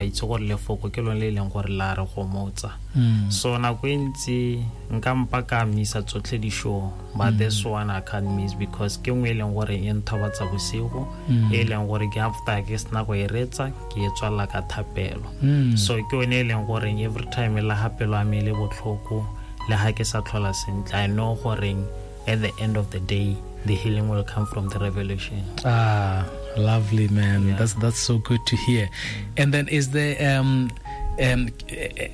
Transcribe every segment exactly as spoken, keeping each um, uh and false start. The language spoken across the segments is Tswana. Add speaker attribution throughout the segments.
Speaker 1: itse gore lefoko ke lone le e leng gore la re gomotsa.
Speaker 2: Mm.
Speaker 1: So nako e ntsi nka mpa ka misa tsotlhe di-show, but
Speaker 2: Mm.
Speaker 1: this one I can't miss because ke nngwe e leng gore e nthobatsa bosigo,
Speaker 2: Mm.
Speaker 1: e leng gore ke after ke sena go e retsa ke e tswalela ka thapelo.
Speaker 2: Mm.
Speaker 1: So ke yone e leng gore every time le ha pelo ya me e le botlhoko le ha ke sa tlhola sentle, I know gore at the end of the day the healing will come from the revelation.
Speaker 2: Ah, lovely, man.
Speaker 1: Yeah.
Speaker 2: That's, that's so good to hear. And then is there, um, um,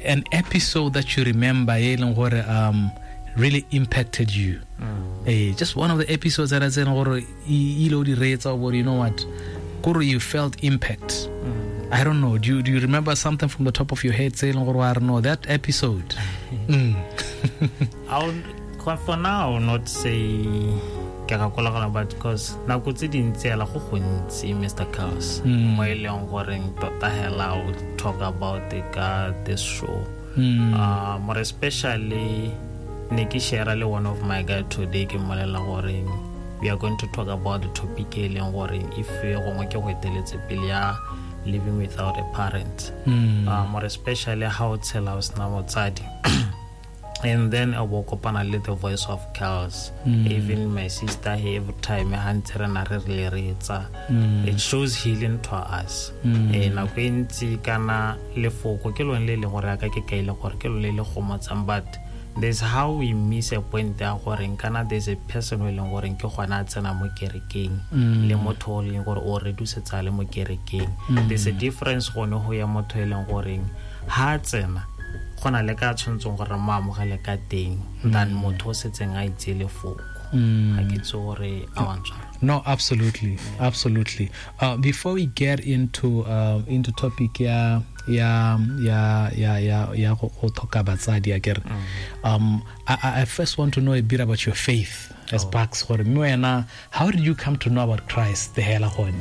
Speaker 2: an episode that you remember e leng gore, um, really impacted you?
Speaker 1: Mm.
Speaker 2: Eh, just one of the episodes that I said gore e ile o di reetsa o bore, you know what, gore you felt impact.
Speaker 1: Mm.
Speaker 2: I don't know. Do you, do you remember something from the top of your head saying, gore, I don't know, that episode? Mm.
Speaker 1: I would, for now, I will not say ke gakologela, but because nako tse dintsi hela go gontsi, Mister Carlos,
Speaker 2: Mm.
Speaker 1: mo e leng goreng tota hela o talk about it ka this show.
Speaker 2: Mm.
Speaker 1: Uh, more especially ne ke share le one of my guy today, ke mmolelela goreng we are going to talk about the topic e leng goreng if gongwe ke go eteletse pele ya living without a parent.
Speaker 2: Mm.
Speaker 1: Uh, more especially ha o tshela o sena motsadi. And then I will kopana le the voice of Carlos.
Speaker 2: Mm.
Speaker 1: Even my sister, every time ha ntse re na re re le retsa,
Speaker 2: Mm.
Speaker 1: it shows healing to us.
Speaker 2: Mm.
Speaker 1: Eh, nako e ntsi kana lefoko ke lone le leng gore ya ka ke kaile gore ke lone le le gomotsang, but there's how we miss a point ya gore kana there's a person o e leng gore ke gona a tsena mo kerekeng,
Speaker 2: Mm.
Speaker 1: le motho o leng gore o redusetsa le mo kerekeng.
Speaker 2: Mm.
Speaker 1: There's a difference gone go ya motho e leng gore ha a tsena go na le ka tshwanetseng gore mo amogele ka teng than motho o setseng a itse lefoko.
Speaker 2: Mm.
Speaker 1: Ga ke itse gore a wa ntshwara.
Speaker 2: No, absolutely, absolutely. Uh, before we get into, uh, into topic ya, ya, ya, ya, ya, ya go, go tlhoka batsadi, akere.
Speaker 1: Mm.
Speaker 2: Um, I, I, I first want to know a bit about your faith as
Speaker 1: Oh.
Speaker 2: Bucks. Gore mme wena, how did you come to know about Christ? The hela gone.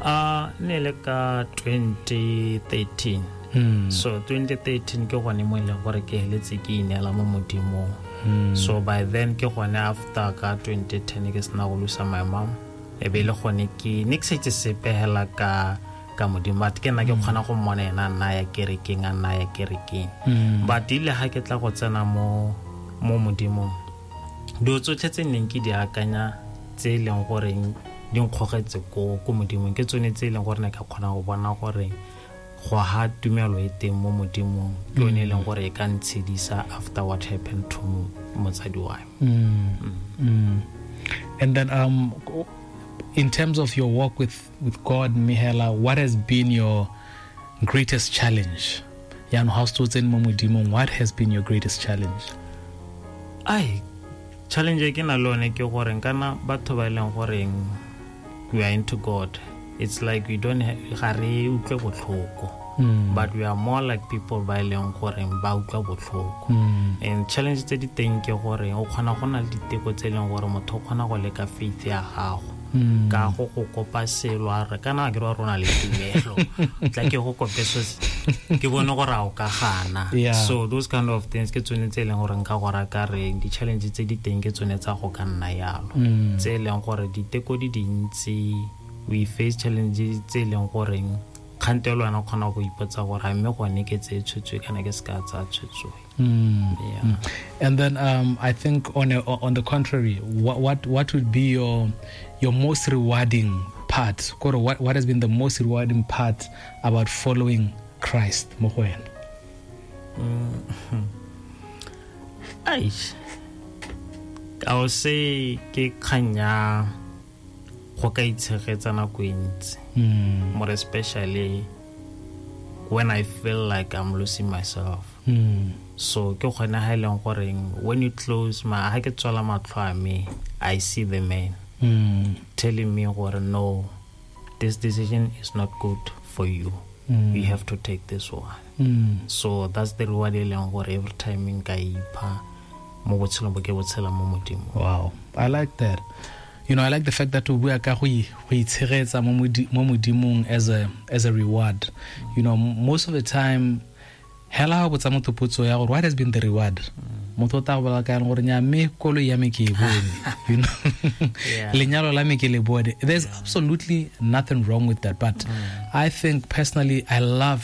Speaker 1: Uh, ne le ka twenty thirteen.
Speaker 2: Mm.
Speaker 1: So twenty thirteen ke gone mo e leng gore ke heletse ke ineela mo Modimong.
Speaker 2: Mm.
Speaker 1: So by then ke gone after ka twenty ten ke sena go lose my mom. E be le gone ke ne ke sa itse sepe hela ka, ka Modimo, but ke nna ke kgona go mmona ena a nna ya kerekeng, a nna ya kerekeng.
Speaker 2: Mm.
Speaker 1: But ile ha ke tla go tsena mo, mo Modimong, dilo tsotlhe tse neng ke di akanya tse e leng goreng di nkgogetse ko, ko Modimong ke tsone tse e leng gore ne ka kgona go bona gore go ha tumelo e teng mo Modimong ke yone e leng gore e ka ntshedisa after what happened to motsadi wa me.
Speaker 2: Mm. Mm. And then, um, in terms of your walk with, with God, Mihela, what has been your greatest challenge? Jaanong ha o se o tsene mo Modimong, what has been your greatest challenge?
Speaker 1: Ai, challenge e ke na le yone ke gore kana batho ba e leng goreng we are into God, it's like we don't ha-, ga re utlwe botlhoko.
Speaker 2: Mm.
Speaker 1: But we are more like people ba e leng goreng ba utlwa botlhoko.
Speaker 2: Mm.
Speaker 1: And challenge tse di teng ke gore o kgona go na le diteko tse e leng gore motho o kgona go leka faith ya gago.
Speaker 2: Mm.
Speaker 1: Ka go go kopa selo a re kana ke re rona le tumelo. Tla ke go kope so se, ke bone gore a o ka gana.
Speaker 2: Yeah.
Speaker 1: So those kind of things ke tsone tse e leng gore nka go raya ka re di-challenge tse di teng ke tsone tsa go ka nna yalo.
Speaker 2: Mm.
Speaker 1: Tse e leng gore diteko di dintsi, we face challenges tse e leng goreng kgante le wena o kgona go ipotsa gore a mme gone ke tseye tshwetso kana ke se ka tsaya tshwetso.
Speaker 2: Mm.
Speaker 1: Yeah.
Speaker 2: Mm. And then, um, I think on a, on the contrary, what, what, what would be your, your most rewarding part? Kore, what, what has been the most rewarding part about following Christ mo go wena?
Speaker 1: Mm. Aish. I would say ke kgang ya go ka itshegetsa nako e ntsi.
Speaker 2: Mm.
Speaker 1: More especially when I feel like I'm losing myself.
Speaker 2: Mm.
Speaker 1: So ke gone ha e leng goreng when you close my, ha ke tswala matlho a me, I see the man
Speaker 2: Mm.
Speaker 1: telling me gore no, this decision is not good for you.
Speaker 2: Mm.
Speaker 1: You have to take this one.
Speaker 2: Mm.
Speaker 1: So that's the reward e leng gore every time nka ipha mo botshelong bo ke bo tshela mo Modimong.
Speaker 2: Wow, I like that. You know, I like the fact that o bua ka go i-, go itshegetsa mo modi-, mo Modimong as a, as a reward. You know, most of the time, hela ha o botsa motho potso ya gore what has been the reward? Motho o tla go bolela ka gore nya mme koloi ya me ke e bone. You know?
Speaker 1: Yeah.
Speaker 2: Lenyalo la me ke le bone. There's
Speaker 1: Yeah.
Speaker 2: absolutely nothing wrong with that. But
Speaker 1: Mm.
Speaker 2: I think personally, I love